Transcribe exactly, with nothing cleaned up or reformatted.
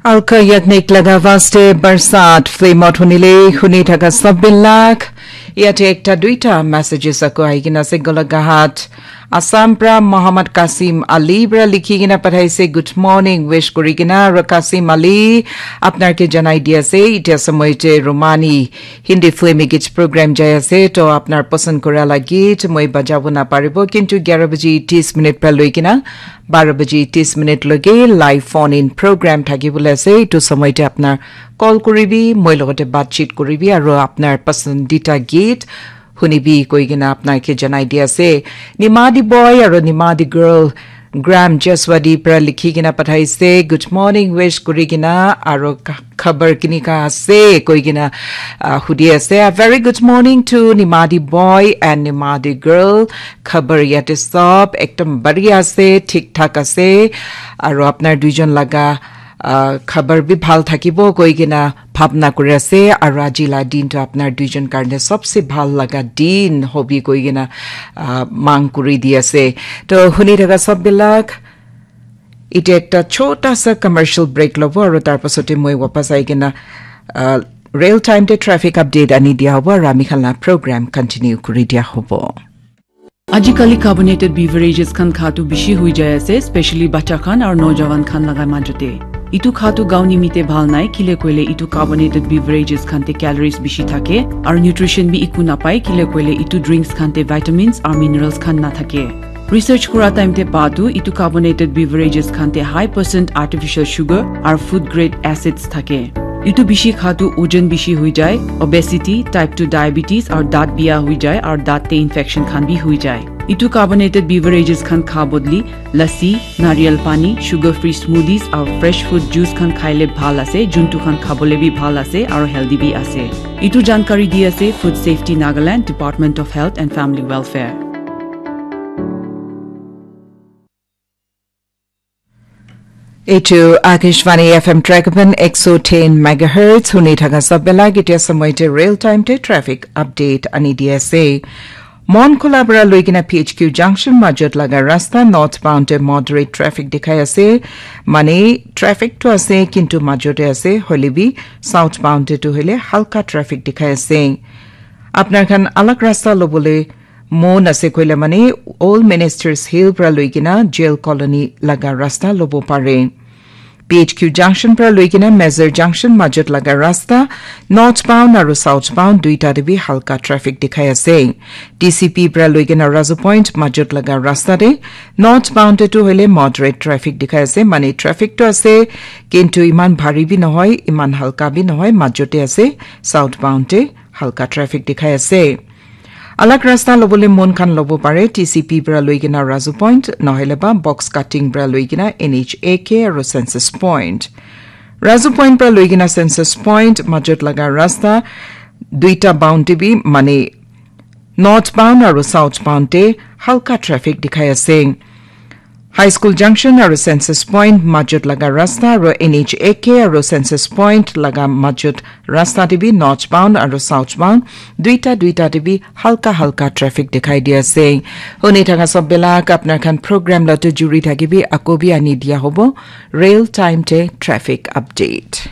Alka yaknik laga vaste barsat film ot hunile huni thaka sabbilak. Yate ekta duita messages ako aigina ase Golaghat. Assam pra Muhammad Kasim Ali pra likhi kena pathaise, "Good morning," wish kuri kena, aro Kasim Ali, apnar ke janai di ase, itia samoy te Romani Hindi film git program jai ase, to apnar pasand kura la git moi bajabo na paribo, kintu gyara baji tis minute pra loi kena baro baji tis minute loge live phone in program thaki bole ase, itu samoy te apnar call kuribi, moi logote batchit kuribi, aro apnar pasandita git hunibi koi kena apnar ke janai di ase. Nimadi boy aro Nimadi girl Graham Jeswadi pra likhi kena pathaise, "Good morning," wish kuri kena, aro ka-, khabar kinika ase koi kena, ah, hudi ase. A very good morning to Nimadi boy and Nimadi girl. Khabar yate sob ekdom bari ase, thik thak ase. Aro apnar duijon laga ah, khabar bi bhal thakibo koi kena bhabna kuri ase, aro aji la din to apnar duijon karne sobse bhal laga din hobi koi kena, ah, mang kuri di ase. To huni thaka sob bilak, ite ekta chota sa commercial break lobo, aro tar pasote moi wapas ai kena, ah, real time te traffic update ani dia hobo, aro ami khan la program continue kuri dia hobo. Ajikali carbonated beverages khan khatu bishi hui jai ase, specially bacha khan aru nojawan khan laga majote. Itu khatu gao nimite bhal nai, kile koile itu carbonated beverages khan te calories bishi thake, aru nutrition bi iku napai, kile koile itu drinks khan te vitamins aru minerals khan na thake. Research kura time te pa tu itu carbonated beverages khan te high percent artificial sugar aru food grade acids thake. Itu bishi khatu ojon bishi hui jai, obesity, type two diabetes, aru daat biya hui jai, aru daat te infection khan bi hui jai. Itu carbonated beverages khan kha bodli, lassi, nariyal pani, sugar free smoothies, aru fresh fruit juice khan khaile bhal ase, juntu khan khabole bi bhal ase, aru healthy bi ase. Itu jankari di ase Food Safety Nagaland, Department of Health and Family Welfare. Eitu Akashvani F M Trekapan ek so ten megahertz, huni thaka sabela gitia samoy te real time te traffic update ani di ase. Mon Khola para loikena P H Q junction majot laga rasta northbound te moderate traffic dikhai ase. Mane traffic to ase, kintu majot te ase, hoile bi southbound te tu hoile halka traffic dikhai ase. Apnar khan alag rasta lobole mon ase koile mane Old Ministers Hill pra loikena Jail Colony laga rasta lobo pare. P H Q junction pra loikena Mazar junction majot laga rasta northbound aru southbound duita te bi halka traffic dikhai ase. T C P pra loikena Razu Point majot laga rasta te northbound te tu hoile moderate traffic dikhai ase, mane traffic to ase kintu iman bhari bi nohoi, iman halka bi nohoi, majot te ase, southbound te halka traffic dikhai ase. Alag rasta lobole mon khan lobo pare, T C P pra loikena Razu Point, nohole ba box cutting pra loikena N H A K aru Census Point. Razu Point pra loikena Census Point majot laga rasta duita bound te bi mane northbound aru southbound te halka traffic dikhai ase. High School Junction aru Census Point majot laga rasta aru N H A K aru Census Point laga majot rasta te bi northbound aru southbound duita duita te bi halka halka traffic dikhai di ase. Huni thaka sob bela apnar khan program la tu juri thakibi, ako bi ani dia hobo real time te traffic update.